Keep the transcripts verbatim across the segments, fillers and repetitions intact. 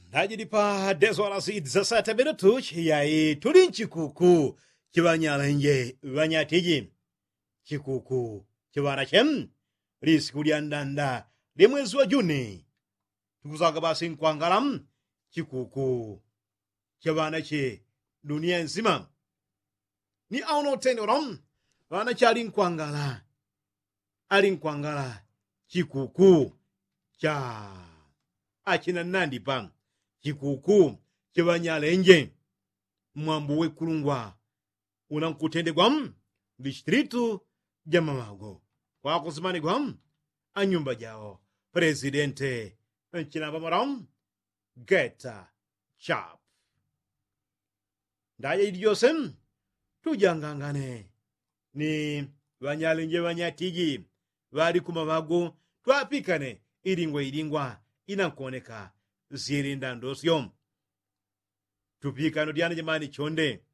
Ndajili pa deswalasi dzasata minutu chiyai tuli nchikuku chiŵanyalenje ŵanyatiji. Chikuku chiŵanache lisiku lyandanda lya mwezi wa juni. Tukusaga basi nkwangala chikuku chaŵanache dunia nsima. Ni auno utendolo ŵanache ali nkwangala ali nkwangala chikuku cha achina nnandipa chikuku chaŵanyalenje. Mwambu wekulungwa una nkutendegwa mdistritu ja maŵago kwakusimanigwa anyumba jao. Presidente nchina ŵamora geta chap ndaja jili jose tujangangane ni ŵanyalenje ŵanyatiji ŵali kumaŵago twapikane ilingwa ilingwa inankoneka syele ndandosyo. Tupikano dyana jamani chonde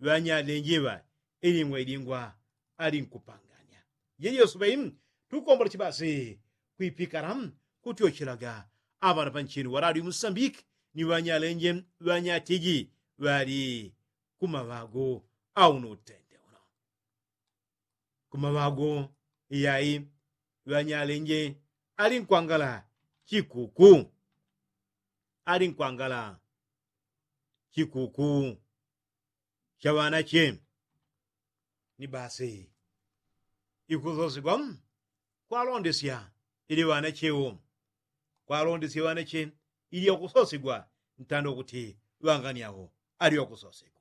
ŵanyalenje ŵa ilingwa ilingwa ali nkupanganya. Jejosubei tukombola chibasi kwipikala kutyochelaga aŵana panchini ŵalali musambiki ni ŵanyalenje ŵanyatiji ŵali kumaŵago auno utende uno. Kumaŵago iyai ŵanyalenje ali nkwangala chikuku ali nkwangala chikuku chaŵanache. Ni basi ikusosigwa kwalondesya ili ŵanache wo kwalondesya ŵanache ili akusosigwa ntanda kuti ŵangani awo ali wakusosigwa.